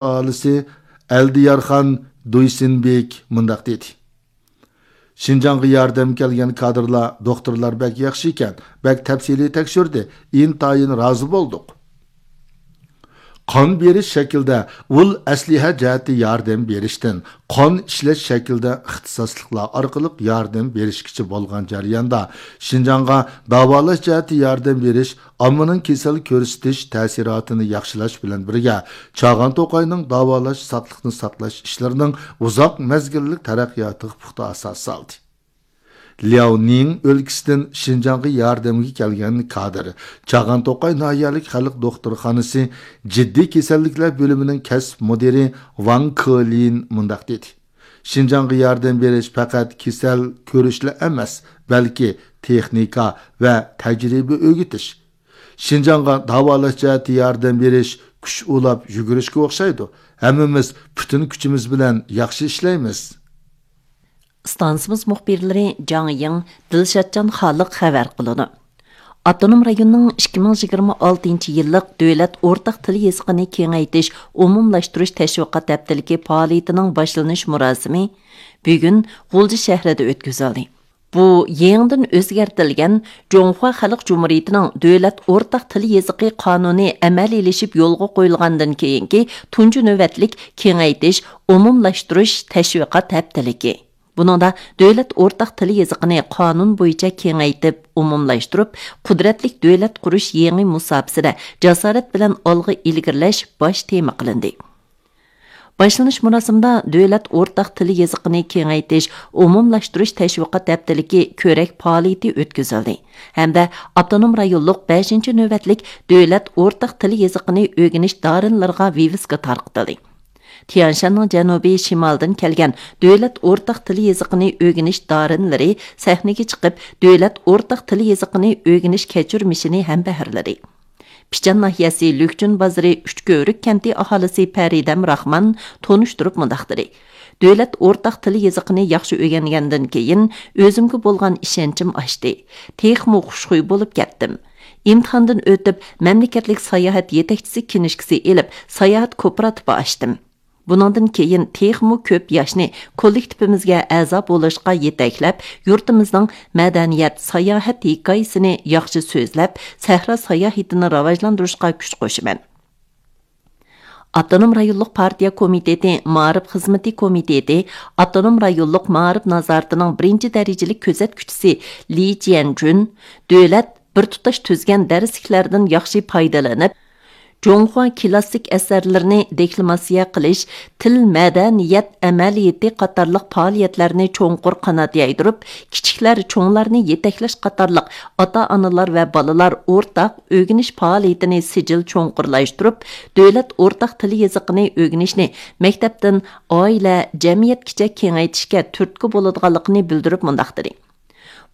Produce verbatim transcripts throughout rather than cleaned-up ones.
ئاھالىسى ئەلدىيارخان دۇيسىنبېك مۇنداق دېدى: شىنجاڭغا ياردەم كەلگەن كادىرلار، دوختۇرلار بەك ياخشى ئىكەن، بەك تەپسىلىي تەكشۈردى، ئىنتايىن رازى بولدۇق. قان بېرىش شەكلىدە ئۇل ئەسلىھە جەھەتتە ياردەم بېرىشتىن، قان ئىشلەش شەكلىدە ئىختىساسلىقلار ئارقىلىق ياردەم بېرىشكىچە بولغان جەرياندا، شىنجاڭغا داۋالاش جەھەتتە ياردەم بېرىش، ئاممىنىڭ كېسەل كۆرسىتىش تەسىراتىنى ياخشىلاش بىلەن بىرگە، چاغان توقاينىڭ داۋالاش، ساقلىقنى ساقلاش ئىشلىرىنىڭ ئۇزاق مەزگىللىك تەرەققىياتىغا پۇختا ئاساس سالدى. لياۋنىڭ ئۆلكىسىدىن شىنجاڭغا ياردەمگە كەلگەن كادىر، چاغان توقاي ناھىيەلىك خەلق دوختۇرخانىسى جىددىي كېسەللىكلەر بۆلۈمىنىڭ كەسىپ مۇدىرى ۋاڭ كېلىن مۇنداق دېدى: شىنجاڭغا ياردەم بېرىش پەقەت كېسەل كۆرۈشلا ئەمەس، بەلكى تېخنىكا ۋە تەجرىبە ئۆگىتىش. شىنجاڭغا داۋالاش جەھەتتە ياردەم بېرىش كۈچ ئۇلاپ يۈگۈرۈشكە ئوخشايدۇ. ھەممىمىز پۈتۈن كۈچىمىز بىلەن ياخشى ئىشلەيمىز. ئىستانسىمىز مۇخبىرلىرى جاڭ يىڭ، دىلشاتجان خالىق خەۋەر قىلىدۇ. ئاپتونوم رايوننىڭ ئىككى مىڭ يىگىرمە ئالتىنچى يىللىق دۆلەت ئورتاق تىل يېزىقىنى كېڭەيتىش ئومۇملاشتۇرۇش تەشۋىقات ھەپتىلىكى پائالىيىتىنىڭ باشلىنىش مۇراسىمى بۈگۈن غۇلجا شەھىرىدە ئۆتكۈزۈلدى. بۇ يېڭىدىن ئۆزگەرتىلگەن جۇڭخۇا خەلق جۇمھۇرىيىتىنىڭ دۆلەت ئورتاق تىل يېزىقى قانۇنى ئەمەلىيلىشىپ يولغا قويۇلغاندىن كېيىنكى تۇنجى نۆۋەتلىك كېڭەيتىش، ئومۇملاشتۇرۇش تەشۋىقات ھەپتىلىكى. بۇنىڭدا دۆلەت ئورتاق تىل يېزىقىنى قانۇن بويىچە كېڭەيتىپ، ئومۇملاشتۇرۇپ، قۇدرەتلىك دۆلەت قۇرۇش يېڭى مۇساپىسىدە جاسارەت بىلەن ئالغا ئىلگىرىلەش باش تېما قىلىندى. باشلىنىش مۇراسىمىدا دۆلەت ئورتاق تىل يېزىقىنى كېڭەيتىش، ئومۇملاشتۇرۇش تەشۋىقات ھەپتىلىكى كۆرەك پائالىيىتى ئۆتكۈزۈلدى ھەمدە ئاپتونوم رايونلۇق بەشىنچى نۆۋەتلىك دۆلەت ئورتاق تىل يېزىقىنى ئۆگىنىش دارىنلىرىغا ۋىۋىسكا تارقىتىلدى. تيەنشاننىڭ جەنۇبىي شىمالدىن كەلگەن دۆلەت ئورتاق تىل يېزىقىنى ئۆگىنىش دارىنلىرى سەھنىگە چىقىپ، دۆلەت ئورتاق تىل يېزىقىنى ئۆگىنىش كەچۈرمىشىنى ھەمبەھىرلىدى. پىچان ناھىيەسى لۈكچۈن بازىرى ئۈچ كۆۋرۈك كەنتى ئاھالىسى پەرىدەم راخمان تونۇشتۇرۇپ مۇنداق دېدى: دۆلەت ئورتاق تىل يېزىقىنى ياخشى ئۆگەنگەندىن كېيىن، ئۆزۈمگە بولغان ئىشەنچىم ئاشتى. تېخىمۇ خۇشخۇي بولۇپ كەتتىم. ئىمتىھاندىن ئۆتۈپ، مەملىكەتلىك ساياھەت يېتەكچىسى كىنىشكىسى ئېلىپ، ساياھەت كوپىراتىپى ئاچتىم. بۇنىڭدىن كېيىن تېخىمۇ كۆپ ياشنى كوللېكتىپىمىزگە ئەزا بولۇشقا يېتەكلەپ، يۇرتىمىزنىڭ مەدەنىيەت، ساياھەت ھېكايىسىنى ياخشى سۆزلەپ، سەھرا ساياھىتىنى راۋاجلاندۇرۇشقا كۈچ قوشىمەن. ئاپتونوم رايونلۇق پارتىيە كومىتېتى مائارىپ خىزمىتى كومىتېتى ئاپتونوم رايونلۇق مائارىپ نازارىتىنىڭ بىرىنچى دەرىجىلىك كۆزەتكۈچىسى لى جيەنجۈن دۆلەت بىر تۇتاش تۈزگەن دەرسلىكلەردىن ياخشى پايدىلىنىپ، جۇڭخۇا كىلاسسىك ئەسەرلىرىنى دېكلاماتسىيە قىلىش، تىل مەدەنىيەت ئەمەلىيىتى قاتارلىق پائالىيەتلەرنى چوڭقۇر قانات يايدۇرۇپ، كىچىكلەر چوڭلارنى يېتەكلەش قاتارلىق ئاتا-ئانىلار ۋە بالىلار ئورتاق ئۆگىنىش پائالىيىتىنى سىجىل چوڭقۇرلاشتۇرۇپ، دۆلەت ئورتاق تىل يېزىقىنى ئۆگىنىشنى مەكتەپتىن ئائىلە، جەمئىيەتكىچە كېڭەيتىشكە تۈرتكە بولىدىغانلىقىنى بىلدۈرۈپ مۇنداق دېدى: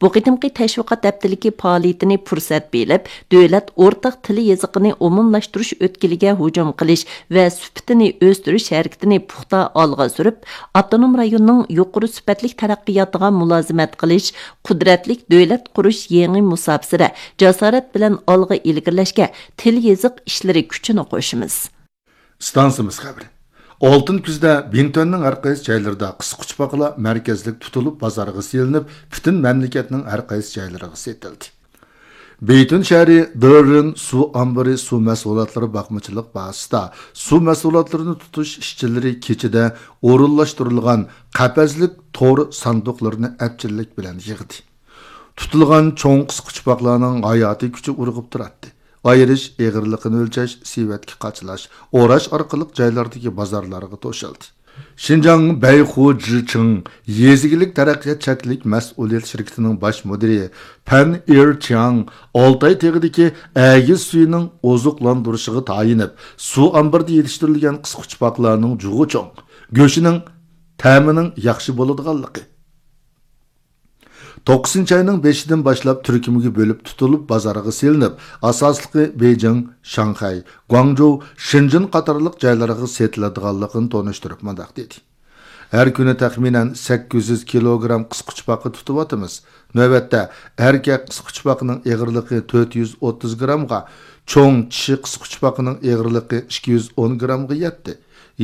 بۇ قېتىمقى تەشۋىقات ھەپتىلىكى پائالىيىتىنى پۇرسەت بىلىپ، دۆلەت ئورتاق تىل يېزىقىنى ئومۇملاشتۇرۇش ئۆتكىلىگە ھۇجۇم قىلىش ۋە سۈپىتىنى ئۆستۈرۈش ھەرىكىتىنى پۇختا ئالغا سۈرۈپ، ئاپتونوم رايوننىڭ يۇقىرى سۈپەتلىك تەرەققىياتىغا مۇلازىمەت قىلىش، قۇدرەتلىك دۆلەت قۇرۇش يېڭى مۇساپىسىدە جاسارەت بىلەن ئالغا ئىلگىرىلەشكە تىل يېزىق ئىشلىرى كۈچىنى قوشىمىز. ئىستانسىمىز خەۋىرى. ئالتۇن كۈزدە بىڭتۈەننىڭ ھەر قايسى جايلىرىدا قىسقۇچپاقلار مەركەزلىك تۇتۇلۇپ بازارغا سېلىنىپ، پۈتۈن مەملىكەتنىڭ ھەر قايسى جايلىرىغا سېتىلدى. بېيتۈن شەھىرى دېررېن سۇ ئامبىرى سۇ مەھسۇلاتلىرى باقمىچىلىق بازىسىدا سۇ مەھسۇلاتلىرىنى تۇتۇش ئىشچىلىرى كېچىدە ئورۇنلاشتۇرۇلغان قەپەسلىك تور ساندۇقلىرىنى ئەپچىللىك بىلەن يىغدى. تۇتۇلغان چوڭ قىسقۇچپاقلارنىڭ ھاياتىي كۈچى ئۇرغۇپ تۇراتتى. ئايرىش، ئېغىرلىقىنى ئۆلچەش، سېۋەتكە قاچىلاش، ئوراش ئارقىلىق جايلاردىكى بازارلارغا توشۇلدى. شىنجاڭ بەيخۇ جىچىڭ يېزا ئىگىلىك تەرەققىيات چەكلىك مەسئۇلىيەت شىركىتىنىڭ باش مۇدىرى پەن ئېر چياڭ ئالتاي تېغىدىكى ئەگىز سۈيىنىڭ ئوزۇقلاندۇرۇشىغا تايىنىپ، سۇ ئامبىرىدا يېتىشتۈرۈلگەن قىسقۇچپاقلارنىڭ جۇغى چوڭ، گۆشىنىڭ تەمىنىڭ ياخشى بولىدىغانلىقى، توققۇزىنچى ئاينىڭ بېشىدىن باشلاپ تۈركۈمگە بۆلۈپ تۇتۇلۇپ، بازارغا سېلىنىپ، ئاساسلىقى بېيجىڭ، شاڭخەي، گۇاڭجۇ، شېنجېن قاتارلىق جايلارغا سېتىلىدىغانلىقىنى تونۇشتۇرۇپ مۇنداق دېدى: ھەر كۈنى تەخمىنەن سەككىز يۈز كىلوگرام قىسقۇچپاقا تۇتۇۋاتىمىز. نۆۋەتتە ئەركەك قىسقۇچپاقىنىڭ ئېغىرلىقى تۆت يۈز ئوتتۇز گرامغا، چوڭ چىشى قىسقۇچپاقىنىڭ ئېغىرلىقى ئىككى يۈز ئون گرامغا يەتتى.